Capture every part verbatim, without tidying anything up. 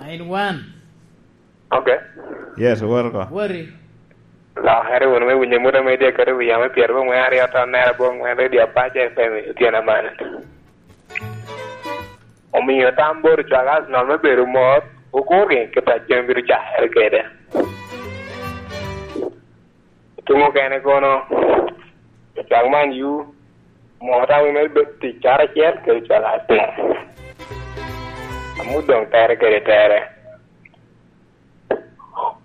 Nine one. Ok. Yes, wot oko. Woti. Lokere wunu me winyo mut ame tye aketo wi yamo i pyerabongwen aryo ton nera abongwen Radio Apac F M i otyeno aman. Omio tam bot ocwak Arsenal me bedo mot, okur gin kit a jami bino cakere kede. Tuŋ okene kono, ocwak Man U, mot a wi me bedo tic karacel kede ocwak Arsenal. Amut doŋ tere kede tere.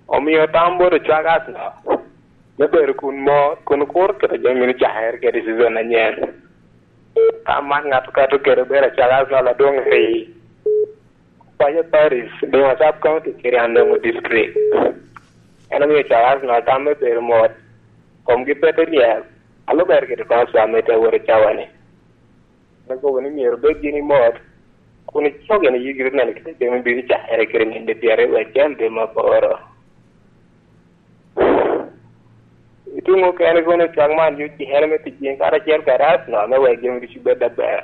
Omio tam bot ocwak Arsenal me bedo kun mot, kun okur kit a jami bino cakere kede i season anyen. Tam man ŋat okato kede obedo acwak Arsenal adwoŋ i Paco Paris, Dima Sub County, Kiriandongo District. En omio ocwak Arsenal tam me bedo mot, komgi pe te lyel, a lubere kede transfer me te awot i cawa-ni. Me kobo ni myero obed gin i mot, kun icok gin i yigi neno kit a jami bino cakere kede ninde pyeraryo acel dwe me aboro. Ituŋ okene kono ocwak Man U cikere me tic gin karacel kede Arsenal me wek jami ducu bed aber.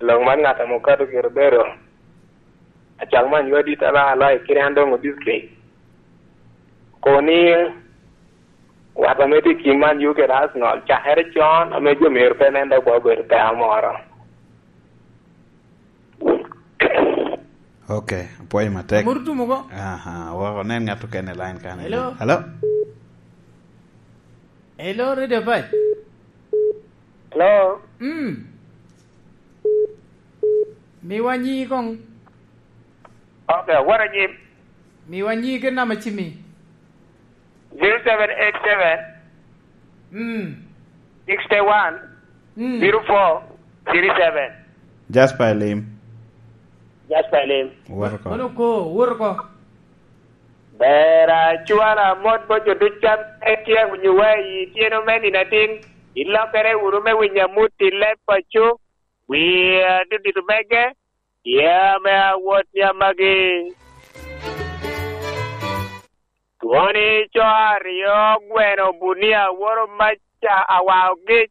Lok man ŋat ame okato gire obedo acwak Man U adit aloyo aloya i Kiriandongo District. Kobo ni wat ame tye i kin Man U kede Arsenal cakere con ame jo myero pe nen dok wa obedo peko moro. Ok, apwoyo matek. Amuru tum oko. Aha, wok onen ŋat okene i line kan. Hello? Hello? Hello, Radio Pac. Hello? Mm. Miwa nyi koŋ. Ok, what a nyi? Miwa nyi kit namba cimi. Zero seven eight seven, Mm. sixty one, Mm. zero four, three seven. Jasper Elim. Jasper Elim. Wot oko. Kono ko, wot oko. Ber acwala mot bot jo duc ame tye awinyowa i tyeno me nino atin. Ilokere wunu me winyo amut i leb paco, wi adudito mege, tye ame awot ni amagi. Twoni co aryo gweno bunia woro maca awao gic,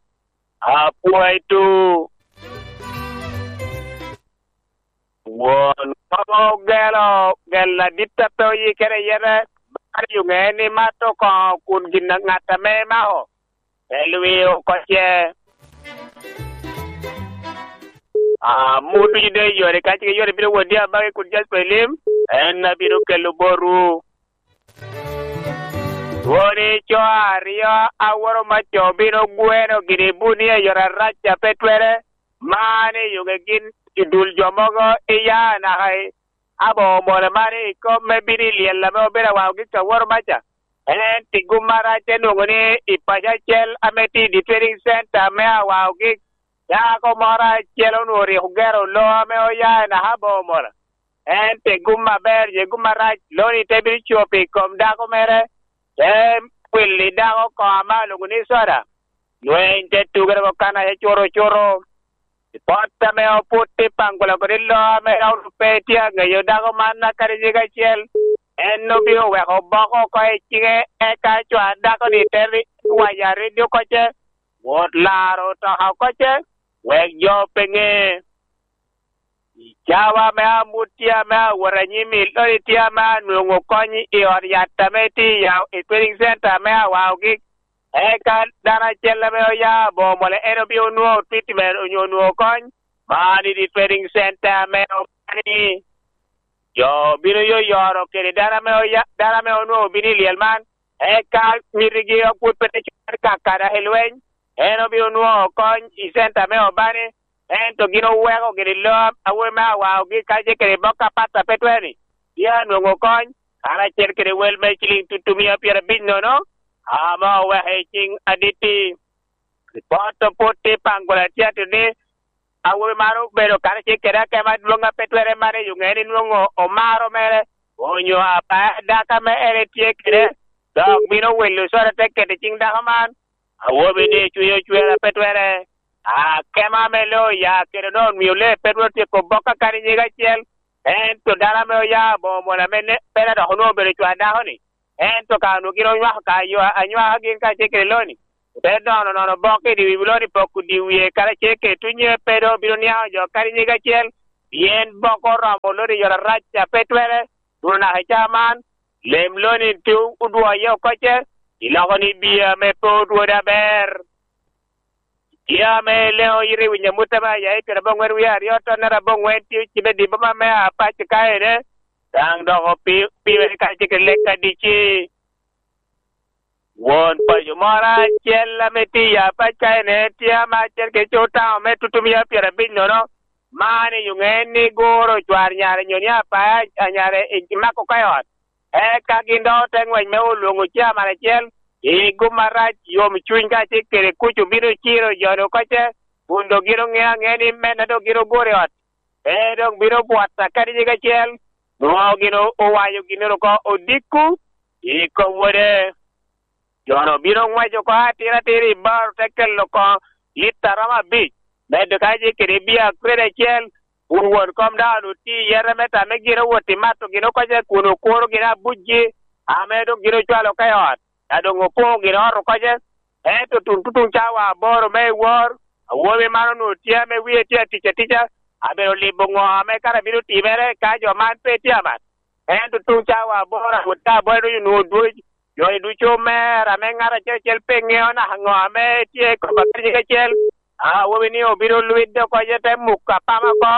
apwoyo tu. Won kobo ogelo gel adit a pe oyikere yete, baro yo ŋe ni mato oko kun gin ŋat ame mako, te lwi oko ce. Amut ducu doŋ i yore, ka cik i yore bino wot ni abagi kun Jasper Elim, en abino kelo botwu. Twoni co aryo aworo maco bino gweno gini bunia i yore arac a pe twere, man i yoŋe gin i dul jo mogo iya naka i abo omole man i kom me bino i lyel ame obedo awao gik aworo maca. Ento i gum arac enwoŋo ni i paco acel ame tye i di trading center me awao gik, dako moro acel onwoŋo rik ogero loo ame oya i naka abo omole. Ento i gum aber, je gum arac, loni te bino copo i kom dako mere, te wili dako oko ame alwoŋo ni Soda. Lweny te tugere oko kan aye cuto cuto. I pot ame oput i Pangula kodi loo ame Raul pe tye aŋeyo dako man akadi nyig acel, en obino weko boko oko i ciŋe, eka cwar dako-ni te ri-, wayo ariddi oko ce, wot laro otoka oko ce, wek jo pe ŋe. I cawa ame amut tye ame awot anyim i lodi tye ame anwoŋo kony i ot yat ame tye i ya-, i trading center ame awao gik. Eka dano acel ame oya abo mole en obino nwoŋo treatment onyo nwoŋo kony. Man i di trading center ame obani. Jo obino yoyoro kede dano ame oya-, dano ame onwoŋo obino i lyel man. Eka mitigi opwod pe te cware kakada i lweny, en obino nwoŋo kony i center me obani. Ento gin oweko gini loo awobi me awaogi kacel kede bok apat a pe twer-ni, tye anwoŋo kony, karacel kede wel me ciliŋ tutumia pyerabic nono, ame oweko i ciŋ adit-ti. Ripot opwod tye i Pangula tye atir ni, awobi man obedo karacel kede akemo adwoŋ a pe twerre man i oŋee ni nwoŋo omaro mere, onyo abaya dako ame en etye kede, dok bino wilo cware te keto i ciŋ dako man. Awobi-ni cwinye ocwer a pe twerre. Akemo ame loo oya kede onwoŋo omio lee pe twero tyeko bok akadi nyig acel. Ento dano ame oya aboŋo moni ame ne-, pe dok onwoŋo obedo cwar dako-ni, ento ka onwoŋo gin onywako ka yo anywaka gin kacel kede loni, ote dono nono bok i dye wi loni poko dye wie karacel kede tunnye pe doŋ obino niaŋo jo akadi nyig acel. pien boko oromo loni yore arac a pe twere, tuno naka i caa man, lem loni tye odwoye oko ce, iloko ni bia ame pe odwode aber. Tye ame leŋo yito i wi nyamut ame aya i pyeraboŋwen wie aryo tonnere aboŋwen tye ocibe i boma me Apac ka ene, daŋ dok opi-, opime kacel kede lek adici. Won paco moro acel ame tye i Apac ka ene tye ame acel kede co taŋo me tutumia pyerabic nono, man i oŋe ni guro cwar nyare nyo ni apaya anyare i mako ka i ot. Eka gin dok ote ŋwec me olwoŋo caman acel, i gum arac, yom cuny kacel kede kuc obino ciro jo-nu oko ce, kun dok gin oŋeo aŋea ni menne dok gin oguro i ot. Pe dok bino bwot akadi nyig acel, nwoŋo gin o-, owaco ginnoro oko odiko i kom wode. Jo-nu bino ŋwec oko atira atira i bar, te kelo oko lita romo abic, medo kacel kede bia kredi acel, kun won kom daŋ onwoŋo tye i yete me tam me gin owot i mato gin oko ce, kun okuro gin abucgi, ame doŋ gin ocwalo oko i ot, a doŋ opoŋo gin ot oko ce. Ento tuŋ tutuŋ cawa aboro me i wor, awobi man onwoŋo tye ame wie tye atic atica, abino libo ŋo ame kara bino timere ka jo man pe tye aman. Ento tuŋ cawa aboro, awot ka aboro onwoŋo dwoc, jo-ni ducu omer, ame ŋat acel acel pe ŋeo naka ŋo ame tye i kom akadi nyig acel. Awobi-ni obino lwidde oko, ce te muko apama oko,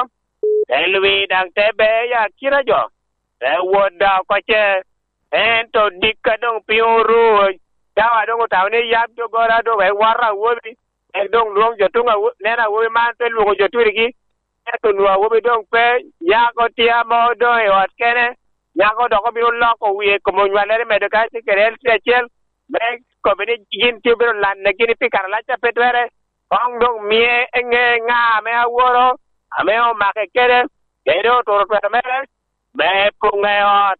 te lwid daŋ te beye i akina jo, te wot daŋ oko ce. Ento dikka doŋ piny oru, cawa doŋ otamo ni yab doggola doŋ wek wot awobi, wek doŋ lwoŋ jo tuŋ awo-, nen awobi man te lwoŋo jo turigi. Ento onwoŋo awobi doŋ pe, nyako tye ame doŋ i ot kene, nyako dok obino loko wie i kom onywallere medo kacel kede en tye acel, me kobbi ni gin tye obedo lanne gini pi kare alac a pe twere, koŋ doŋ mie eŋe ŋa ame aworo, ame omake kede, kede oturo twero mere, me poŋe ot.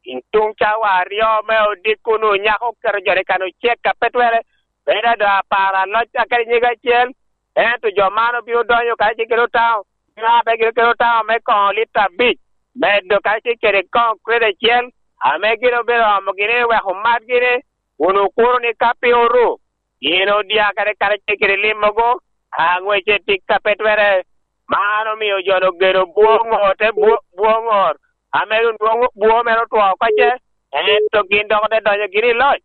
I tuŋ cawa aryo me odiko-nu, nyako oketo jo i kan ocek a pe twere, bedo ado apar aloc akadi nyig acel, ento jo man obino donyo kacel kede otaŋo, bino abe gin kede otaŋo me koŋo lita abic, medo kacel kede koŋo kredi acel, ame gin obedo omo gini wek omat gini, kun okuro ni ka pe oru, gin odia kede karacel kede lim mogo, aŋwece tic a pe twere. Man omio jo-nu ogeno bwoŋo, te bwo-, bwoŋo, ame onwoŋo bwo mere otwo oko ce, ento gin dok ote donyo gini i loc.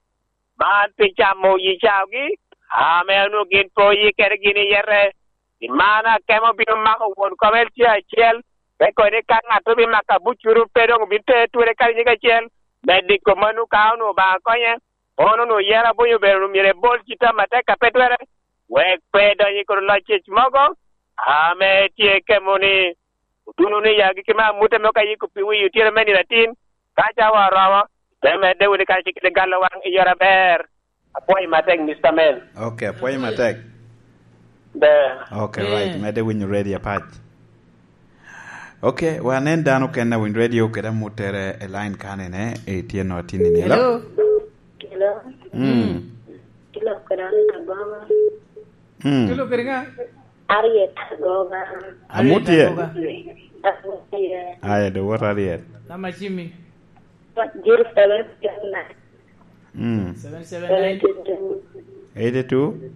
Man pi camo yi caogi, ame onwoŋo gin pe oyikere gini yete. Pi man akemo bino mako won kom L C acel, te kono ni ka ŋat obimako abuccuru pe doŋ obin te twere kadi nyig acel, me diko mano ka onwoŋo Obaŋa konye. Kono onwoŋo yero abonyo obedo myero ebol cita matek a pe twere, wek pe edony i kor loc cec mogo, ame tye kemo ni, otuno ni ya giki me amute me ka yiko pi wi otyeno me nino atin, ka cawa oromo, te medde wunu kacel kede galo waŋ i yore aber. Apwoyo matek, Mister Mel. Ok, apwoyo matek. Ber. Ok, right. Eh. Medde winyo radio apac. Ok, wanen dano kene a winyo radio kede amuttere i line kanene, eh, tye no atinni ni. Hello? Hello? Hello? Mm. Kilo kede an Agoba. Mm. Kilo kede ŋa? Harriet Agoba. Amut ye? Harriet Agoba. Amut ye. Aye, do wot Harriet. Nama cimi? Zero seven seven nine. Mm. Seven seven nine. Seventy-two. Eighty-two?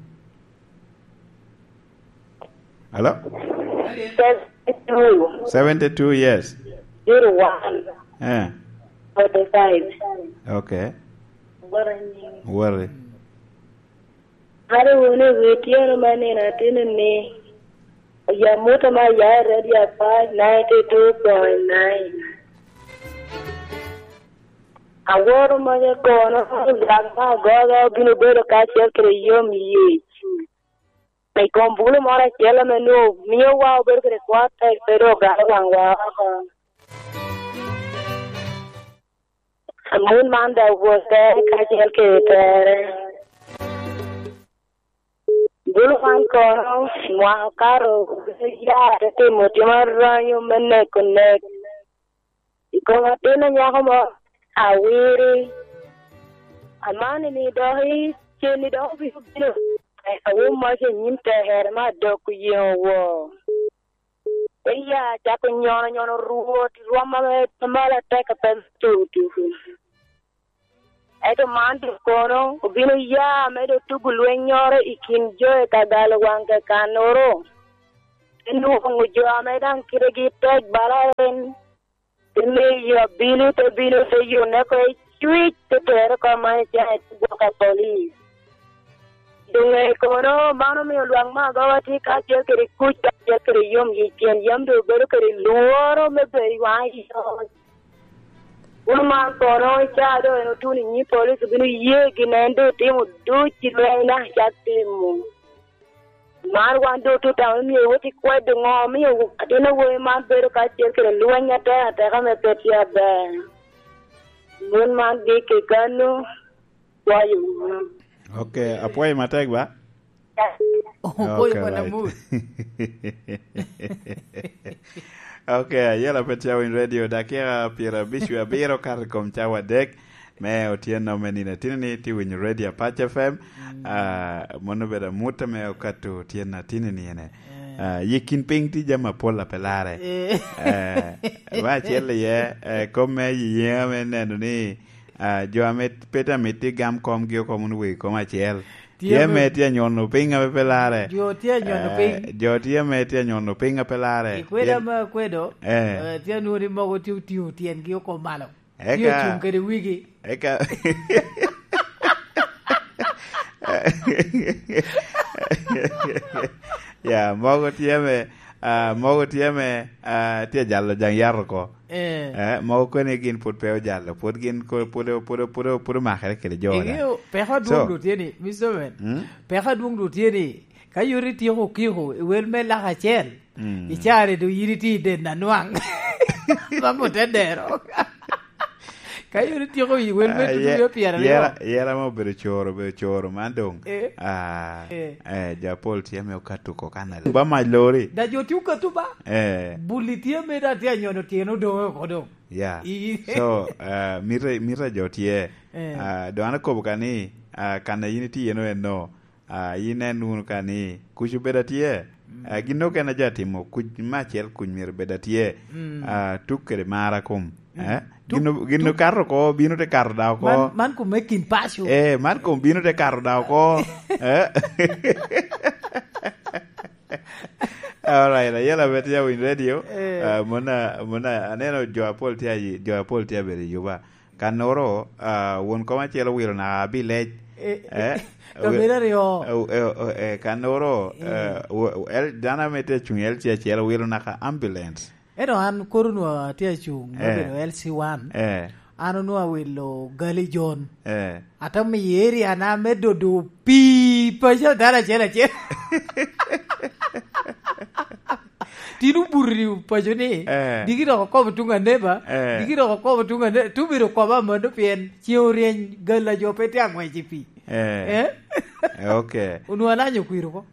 Hello? Seventy-two. Seventy-two, yes. Zero one. Eh. Forty-five. Okay. Worry. Worry. Ado wunu i wi tyeno me nino ateni ni, oya mota me aya i Radio Apac ninety two point nine. Aworo moja kono, Obaŋa me agoga obino bedo kacel kede yom yec. I kom bulu moro acel ame nwoŋo miowa obedo kede kwo atek, pe doŋ ogalo waŋwa oko. Amut man daŋ owote kacel kede tere. Bulu man kono, nwaŋ okato, ya te timo tim aranyo me neko nek. I kom atin a nyako mo, awiri. Amani ni dok i cen ni dok obino bino. Awum mac i nyim tekere me adok oyeŋo woo. Te ya acako nyono nyono Rwot i rwom ame malo atek a pe tuko tuko. Ento man doŋ kono obino ya me doŋ tugo lwennyoro i kin jo i ka galo waŋ kekannoro. Enwoŋo jo ame daŋ kitegi tek bala en, te miyo abino, te bino, te yune oko i cwic, te tere oko man i cen, te gwoko i polic. Doŋ i kono, man omio lwak me agoba tye kacel kede kuc, kacel kede yom yic, pien yam doŋ obedo kede lworo me bedo i waŋ i ot. Wun man kono, i caa doŋ en otuno i nyim polic, obino ye gin en doŋ otimo duc i lweny, dok acak timo. Man wan doŋ otutamo i myero wot i kwedo ŋo omio atin awobi man bedo kacel kede lweny atek ateka ame pe tye aber. Mon man gik i kano, kwayo wunu. Ok, apwoyo matek ba? Opoyo Ok, kwana right. Mut. Ok, ayela pe tye Winy Radio, dakika pyera abic wie abiro kato i kom cawa adek me otyeno me nino atino ni tye winyo Radio Apac F M. Mm. Ah, mano obedo amut ame okato otyeno atino ni ene. Eh. Ah, yi kin piny tye jami apol a pe larre. Eh. Eh, me acel iye, eh, kom me yiyeŋa me neno ni, ah, jo ame pe te amiti gam komgi oko wunu wegi kom acel. Tye Tye ame ame tye anyono piny ame pe larre. Jo tye anyono Eh, piny. Jo tye ame tye anyono piny ame pe larre. I kweda Pien ame akwedo, Eh. eh, tye anwoŋo ni mogo tye otingo tyengi oko malo. Tye Eka, ocung kede wigi. Eka. Ya, mogo tye me, ah, mogo tye me, ah, tye jalo jaŋ yat oko. Eh. Eh, mogo koni gin pwod pe ojalo, pwod gin ko-, pwod, pwod, pwod, pwod omakere kede jo da. Iŋeo, peko adwoŋ So, dwoŋ tye ni, Mister Man, mm? Peko adwoŋ dwoŋ tye ni, ka yot ityeko okiko i wel me lak acel, Mm. I caa-ni doŋ yin itye i den anwaŋ. Mom ote dero. Ka yot ityeko i wel me Ah, tutu ye-, me pyeraryo. Yera, yera ma obedo coro, obedo coro man doŋ. Eh. Ah, Eh. eh, jo apol tye ame okato oko kan aryo. Ba mac lori. Da jo tye okato ba. Eh. Buli tye ame da tye anyono tyeno doŋ oko doŋ. Yeah. I- So, ah, mito, mito jo tye. Eh. Ah, doŋ an akobo ka ni, ah, kan a yin itye eno eno, ah, inen wunu ka ni kuc obedo atye. Mm. Ah, gin okene aja timo kuc me acel kuc myero bed atye. Mm. Ah, tuk kede mar a kom. Mm. Eh? Tuk, gin o-, gin tuk. Okato oko, bino te kato da oko. Man, man kom me kin paco. Eh, man kom bino te kato da oko. Eh? All right, ayela bet ya Winy Radio. Eh. Ah, mona, mona, aneno jo apol tye ayi-, jo apol tye abedo i Juba. Kannoro, ah, won kom acel owilo naka abilec. Eh, Eh? Kabedo aryo. Eh, eh, eh, eh, kannoro, Eh. eh, wo-, wo-, el-, dano ame tye acuŋ i L C acel owilo naka ambulance. Ento an koro onwoŋo atye acuŋ, Eh. obedo L C one. Eh. An onwoŋo awilo gali John. Eh. Ate miyo area na me dodo pii paco dano acel acel. Tin obuto i paco ni, Eh. Diki dok okobo tuŋ aneba, Eh. Diki dok okobo tuŋ ane-, tubedo okobo amano pien ceŋ oryeny, galla jo pe tye aŋwec i pii. Eh. Eh? Eh, ok. Onwoŋo alanyo kwir oko.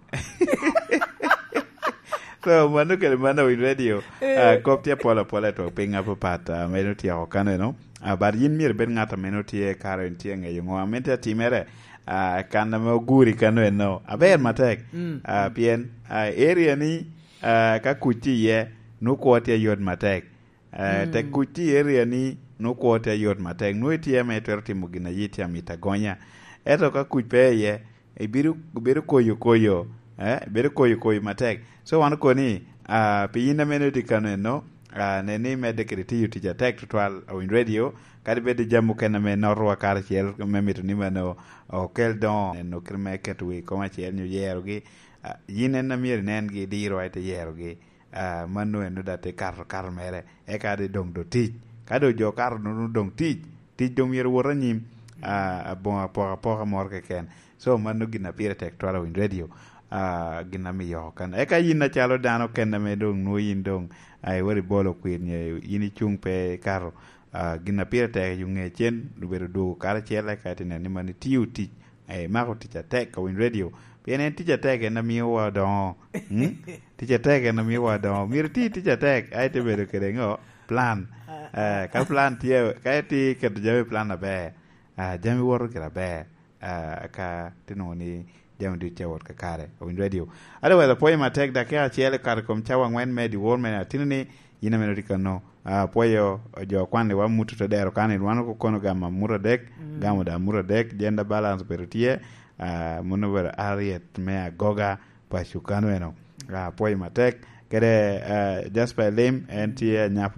So, mano kede mano Winy Radio, Eh. ah, kop tye apol apol, atwo piny apapat, ah, meno tyeko kano eno. Ah, but yin myero ibed ŋat a meno tye kare en tye ŋeyo ŋo a mito atimere, ah, kan ame oguri kano eno. Aber matek. Mm. Ah, pien, ah, area ni, ah, ka kuc tye iye, nwoŋo kwo tye yot matek. Eh, Mm. Tek kuc tye i area ni, nwoŋo kwo tye yot matek. Nwoŋo itye ame itwero timo gin a yie tye amito agonya. Ento ka kuc pe iye, ibedo, ibedo koyo koyo, eh, ibedo koyo koyo matek. So wan okoni, ah, pi yin ame nwoŋo itye kano eno, ah, nen ni imedde kede tiyo tic atek tutwal, Awiny Radio, kadi bed i jami mukene ame notowa karacel, me mito ni mano okel doŋo, neno kit me keto wi kom acel nyo yerogi. Ah, yin en a myero inengi, idiro, aye ite yerogi. Ah, mano eno da te kato, kato mere, eka de doŋ do tic. Ka doŋ jo kato nunu doŋ tic, tic doŋ myero wot anyim, ah, aboŋo apoka apoka moro keken. So, mano gin a pire tek twal Awiny Radio, ah, gin a miyo oko kan. Eka yin acalo dano ken ame doŋ nwoŋo yin doŋ, ah, iwero ibolo kwir nye, yin icuŋ pe ikato, ah, gin a pire tek i ŋe cen, obedo dwogo karacel, eka ite neno ni mano itio tic, eh, imako tic atek, Awiny Radio. Pien en tic atek en a miyowa doŋo. Mm? Tic atek en a miyowa doŋo. Myero iti tic atek, a ite bedo kede ŋo? Plan. Eh, ka plan tye, ka itye keto jami i plan aber, ah, jami woto gire aber. Ah, ka te nwoŋo ni jami ducu tye wot kakare. Awiny Radio. Otherwise, apwoyo matek, dakika acel okato i kom cawa angwen me dyewor me atino ni, yin ame nwoŋo itye kano. Ah, apwoyo jo kwanniwa, muto te dero kani, wan okono gamo amut adek, Mm. gamo da amut adek, gender balance obedo tye, ah, mano obedo Harriet me Agoga, paco kano eno. Ah, apwoyo matek, kede, eh, Jasper Elim, en tye anyap